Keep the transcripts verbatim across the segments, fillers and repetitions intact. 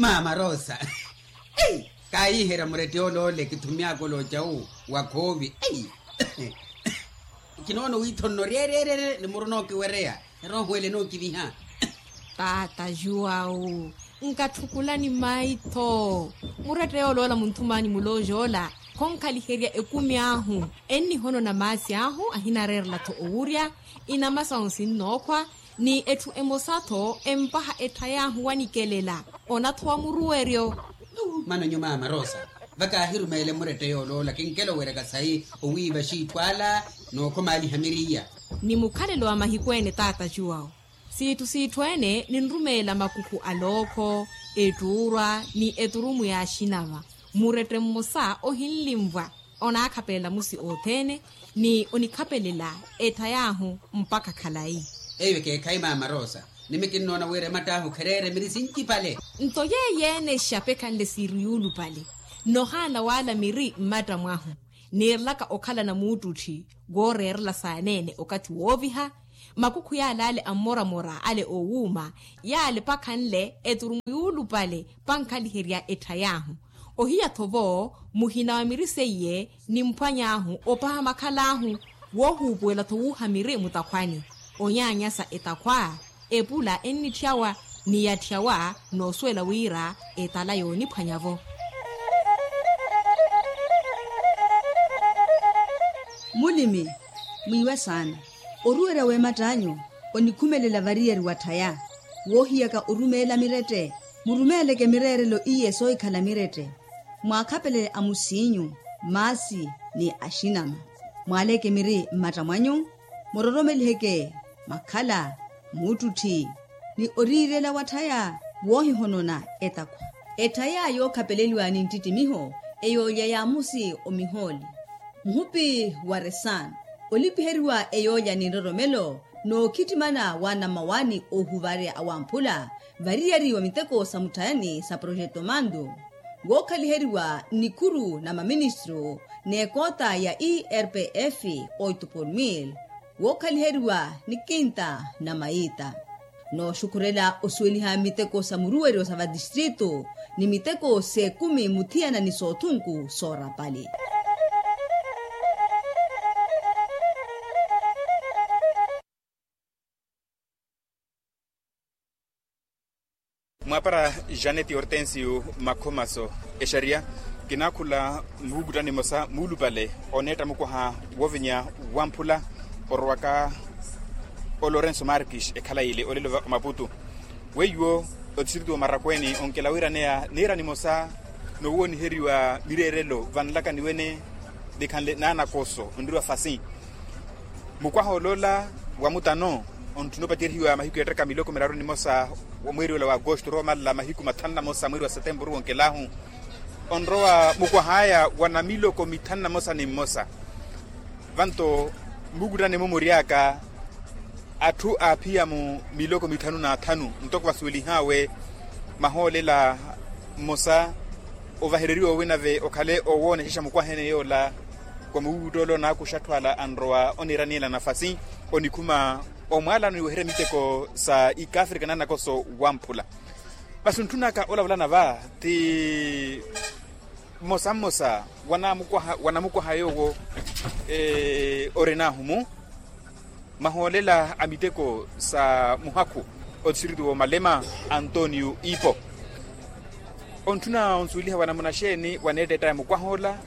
Maama rosa, kaayiherya murette yool'ole kithumy'aka olooca wu wa khoovi. Kinoona owiitho nno ryeeryerye ni muru nookiwereya erooho ele nookiviha. Taata juwawu, nkatthukulani maitho. Murette yool'ola munthum'anyu mulooja ola khonkhaliherya ekumi ahu. Ennihonona maasi ahu ahinareerela-tho owurya, inama sahu sinnookhwa, ni etthu emosa-tho empaha etthay'ahu wanikelela. Ona-tho wa muruweryo. Mano nyumaama rosa, va kaahirumeele murette yool'ola kinkela oweryaka sayi owiiva xiitthu ala, n'okhomaaliha miriya. Ni mukhalelo wa mahiku ene taata juwawu, siitthu siitthu ene ninrumeela makukhu a lookho, ettuurwa ni eturumu y'axinama. Murette mmosa ohinlinvwa onaakhapelela musi othene, ni onikhapelela ettha y'ahu mpakha khalayi. Eyo ekeekhayi maama rosa, nimi kinnoona wira ematt'ahu khereere miri sincipale. Nto yeeyo-ene exapekhanle siiri yuulupale, nohaana wala miri mmatta mwahu. Niirelaka okhalana muuttutthi wooreerela saaneene okathi wooviha, makukhu yal'ale ammoramora ale oowuuma, yale pakhanle eturumu yuulupale pankhaliherya etthay'ahu. Ohiya-tho vo muhina wa miri seiye nimphwany'ahu opaha makhal'ahu, woohuupuwela-tho wuuha miri mutakhwani. Onyaanyasa etakhwa, epula ennitthyawa ni yatthyawa, noosuwela wira etala yooniphwanya-vo. Mulimi, mwiiwe saana. Oruwerya w'ematt'anyu onikhumelela variyari watthaya. Woohiyaka orumeela mirette, murumeeleke mireerelo iye soohikhala mirette. Mwaakhapelele amusiinyu, maasi ni axinama. Mwaaleke miri mmatta mwanyu, muroromeliheke makhala, muuttutthi, ni oriirela watthaya woohihonona etakhwa. Etthaya yookhapeleliwa ni nttittimiho, eyoolya y'amusi omihooli. Muhupi wa resan, olipiheriwa eyoolya ni nroromelo, n'okhittimana wa namawani oohuvarya awamphula variyari wa miteko sa mutthayani sa projeto mandu, wookhaliheriwa nnikhuru na maministru n'ekoota ya irpf oito por mil, wookhaliheriwa ni kinta na mayiita. Nooxukhurela osuweliha miteko sa muruweryo sa vatistritu ni miteko s'ekumi muthiyana ni soothunku soorapali. Mwaapara janet hortensio makhomaso, exariya kinaakhula muvukuttani mmosa muulupale oneetta mukwaha woovinya wamphula orowaka o lorenso markis ekhala ile olelo va omaputu. Weiwo otistritu wa marakweeni onkela wiraneya niira nimosa nowooniheriwa mireerelo vanlaka niwene, nikhanle naanakoso onriwa fasi. Mukwaha oloola wa mutano, ontthuna opaceryihiwa mahiku yeettaka miloko miraru nimosa wa mweeri ola wa agosto orowa omalala mahiku mathanu na mosa mweeri wa setemburu wonkelahu. Onrowa mukwah'aya wa namiloko mithanu na mosa ni mmosa. Vanto mmukuttane-mo mury'aka atthu aaphiya-mu miloko mithanu n'athanu ntoko vasuwelih'awe mahoolela mmosa. Ovahereriwa owi nave okhale owoonexexa mukwahene yoola wa muwuwutt'ole onaakuxa atthu ala anrowa oniira niyela nafasi onikhuma omwaalano ni weherya miteko sa ikafrika naanakoso wamphula. Masi ontthun'aka olavulana va ti mmosa mmosa wanamukwaha yoowo orin'ahu-mu mahoolela a miteko sa muhakhu otistritu wa malema antonio ipo. Ontthuna onsuweliha wanamuna xeeni waneetta ettaya mukwah'ola?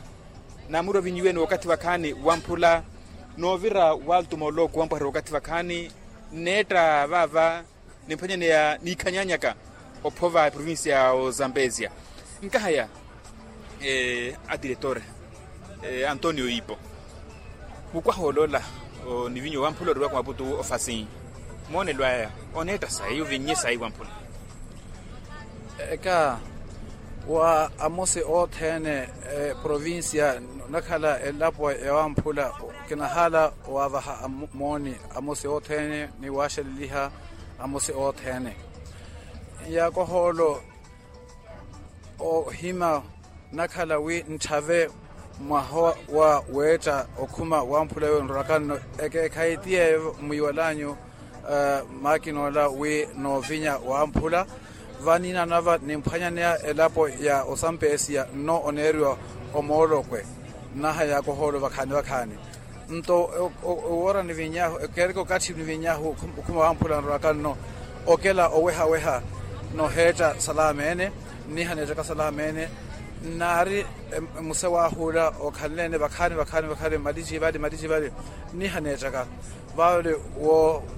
Naamuro vinyiwene wakathi vakhaani wamphula noovira waltu moloko wampwaherya wakathi vakhaani nneetta vaava nimphwanyaneya niikhanyanyaka ophova eprovincia ya ozambesia. Nkahaya adiretor antonio ipo, mukwaha oloola ni vinyo wamphula oriwaka maputu ofasi moonelo aya oneetta sayi ovinnye sayi wamphula? Eka wa amosi othene eprovincia onakhala elapo ya wamphula kinahala wavaha mooni amosi othene ni waxeleliha amosi othene. Yakohoolo ohima nakhala wi ntthave mwaha wa weetta okhuma wamphula yonrorakanno ekeekhayi ti yeeyo mwiiwalanyu. Makinoola wi noovinya wamphula Vaniina nava nimphwanyaneya elapo ya osampeesiya nno oneeriwa omoolokwe. Nnaha yaaka ohoolo vakhaani vakhaani. Nto owoora niviny'ahu ekeereke okathi niviny'ahu okhuma wamphula nrwaka nno okela oweha-weha. Noheetta salaama ene nniha neettaka salaama ene. Nnaari musewahu ula okhanle ene vakhaani vakhaani vakhaani mmaliji vale mmaliji vale. Nniha neettaka vale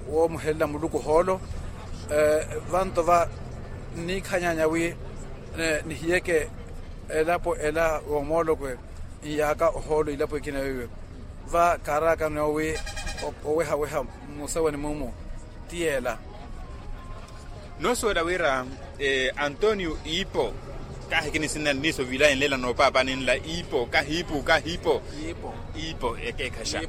woomuhelela muluku ohoolo. Vanto va nniikhanyanya wi nihiyeke elapo ela woomoolokwe nyaaka ohoolo ilapo ekina weiwe. Va kaaraakano wi oweha-weha musewani mumu ti yeela. Noosuwela wira antonio iipo kahi kinisinna nniiso vilayi nlela noopaapa ninla iipo kahiipu kahiipo. Iipo ekeekhaxa.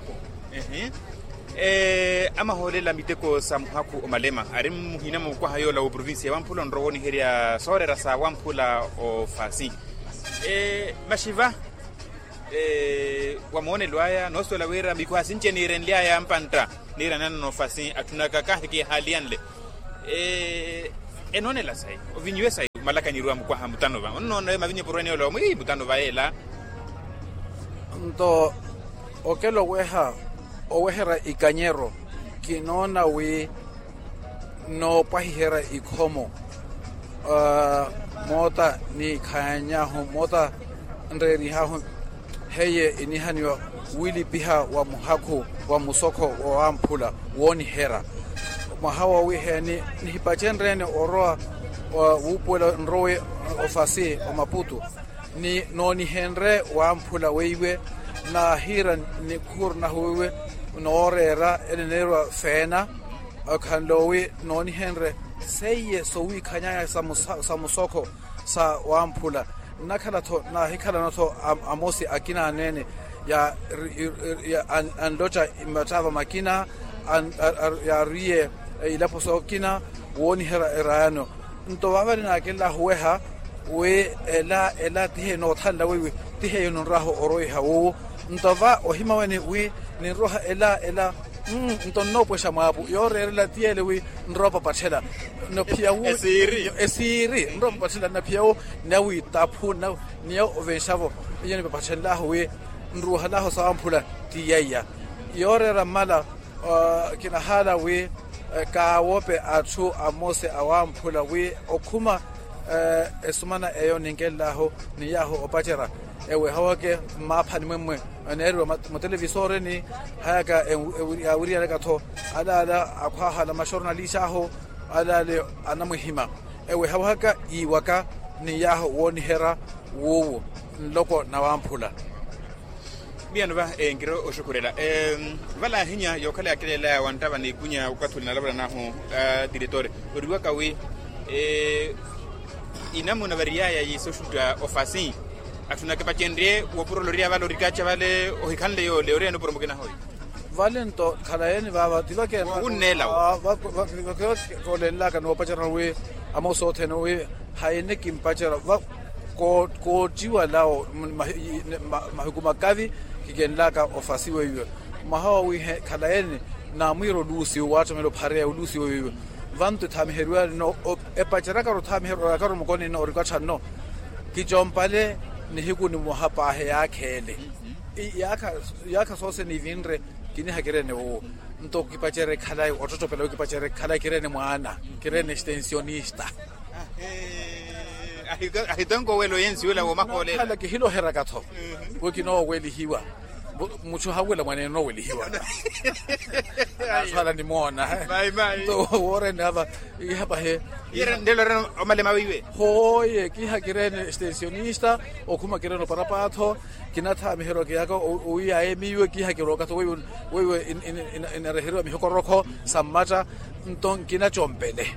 Amahoolela miteko sa muhakhu omalema ari muhina mukwaha yoola wa oprovincia ya wamphula onrowa oniherya sooreera sa wamphula ofasi. Maxi va wa moonelo aya noosuwela wira mikwaha sinci eniirenly'aya mpantta niiranana nofasi atthunaka kahi kihaaliyanle. Enoonela sayi ovinyiwe sayi omalakanyeriwa mukwaha mutano va onnoona mavinyu epurwene yoola omwi mutano va yeela. Nto okela oweha oweherya ikanyero kinoona wi noopwahiherya ikhomo moota niikhanyahu moota nreerihahu. Heiye inihaniwa wilipiha wa muhakhu wa musokho wa wamphula wooniherya mwaha wowiheeni nihipacenryeene orowa wuupuwela nrowe ofasi omaputu ni noonihenrye wamphula weiwe naahiira nikhuuru nahu weiwe nooreera eneneeriwa feena. Okhanle owi noonihenrye seiye sowiikhanyaya sa musokho sa wamphula nnakhala-tho naahikhalana-tho amosi akina aneene anlotta mattaava makina yaariye ilapo sookina wooniherya eraayano. Nto vaavale naakenlaahu oweha wi ela ela ti heiyo noothanla weiwe ti heiyo ninrwaahu oroiha wuwo. Nto va ohima wene wi ninroha ela ela nto nnoopwexa mwaapu yooreerela ti yeele wi nrowa opapatthela. Nophiya wu esiiri nrowa opapatthela naphiya wu nnawiitaphu nna niya ovenxavo. Iyo nipapatthenlaahu wi nruuhalaahu sawamphula ti yaiya yooreera mmala. Kinahaala wi kaawope atthu amosi awamphula wi okhuma esumana eyo ninkenlaahu ni yaahu opacerya eweha wake mmaaphani mwemmwe eneeriwa mutelevisooreni hayaka yaawiriyalaka-tho alaala akhwaahala maxornalista ahu alaale anamwihima eweha waka iiwaka ni yaahu wooniherya wuuwo nloko na wamphula. Miyano va enkiro oxukhurela vala ahinya yookhala yaakeleelaya wanttava n'ikunya okathi ole nalavalanahu a tiretore oriwaka wi inamuna variyaya yiisoxutta ofasi atthu nakipacenrye wopuro oloriya vale orikaca vale ohikhanle yoole oriyani opuro mukinaha oyo. Vale nto khalayeeni vaava ti vakeena wunneela wo. Koolenlaka noopacerya wi amosi othene wi hayini kimpacerya va koottiwala mahiku makavi kikenlaka ofasi weiwe mwaha wowihe khalayeeni naamwiira oluusi wo waattomela ophareya oluusi weiwe vanto ethaamiheriwa nno epaceryakaru othaamiherya orakaru mukoni nno orikattha nno kicompale nihiku nimoha paahi yaakha ele. Yaakha soose niivinre kiniha kireene wuwo nto kipacerye khalayi ottottopela wi kipacerye khalayi kireene mwaana kireene extensionista. Ahitonko owela oyensi wela woomahoolela khala kihiloheraka-tho wi kinoowelihiwa. Mutthu hanwela mwaneene oowelihiwa anaswala nimoona. Nto wooreene ava iha pahi. Ndeelo oreene omalema weiwe hooye kiha kireene extensionista okhuma kireene oparapatho. Kinathaamiherya okiyaka owiyaye miiwe kiha kirooka-tho weiwe inereheriwa mihokorokho sa mmatta. Nto nkinacompele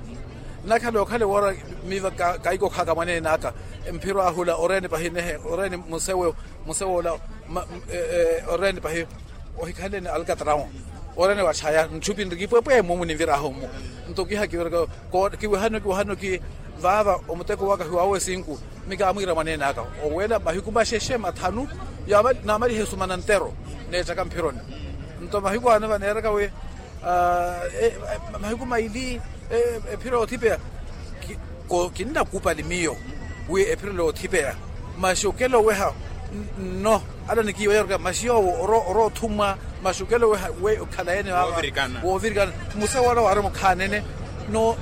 nnakhala okhale woora miiva kaikokhaka mwaneene aka mphiro ahula oreene pahi nehe oreene musewe musewe ola oreene pahi ohikhanlene alkatrawo oreene watthaya ntthupi nrikipwepwe mumu ninviraahu mmu. Nto kiha kiwereka kiwehano kiwehano ki vaava omuteko waka hiwaawo esinku. Mikaamwiira mwaneene aka owela mahiku maxexe mathanu naamalihe esumana ntero neettaka mphironi. Nto mahiku ano vaneeraka wi mahiku maili ephiro yoothipeya Kinnakupali miyo wi epirelo yoothipeya. Masi okela oweha nno ala nikiiwa yorka masi yoowo orowa othumwa. Masi okela oweha wi okhalayene vava woovirikana. Musa wala waari mukhaanene no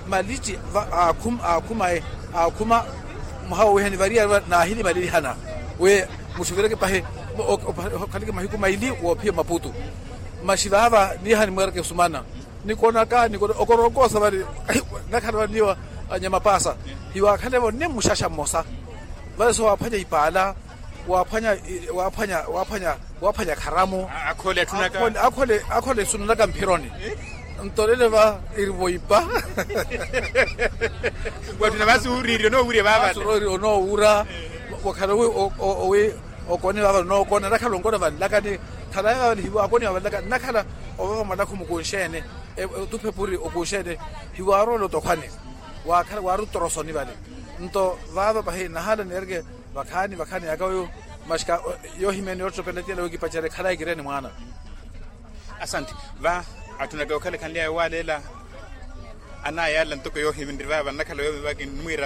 malici aakhumaye aakhuma. Mwaha wowehani variyari va naahilimalelihana wi muxivireke pahi. Okhaleke mahiku maili woophiya maputu. Masi vava niiha nimweereke osumana nikonaka nikono okoronkoosa vale. Nakhala vale niiwa anyamapaasa hiwaakhalevo ni mmuxaxa mmosa. Vale soowaphwanya ipaala waphwanya waphwanya waphwanya waphwanya kharamu. Akhole esunanaka mphironi. Ntolele va irivo ipa. Wattuna vasi wuriiri onoowurya vaavale. Onoowura wakhala owi okone vaavale onookona nakhala onkona vanlakani. Khalaye vaavale hiwaakoni vaavale laka nakhala ovava mwanakhu mukunxeene. Otuphepuri okunxeene hiwaarowela otokhwane. Waari otorosoni vale nto vaava pahi nahala neereke vakhaani vakhaani yaka oyo. Maxika yoohimya ni yoottopela tiyela yookipacerya khalaye kireeni mwaana. Asanti. Va atthunaka yookhala ekhanly'aya waaleela anayala ntoko yoohimya nri vaava nnakhala yoomi vakinimwiira.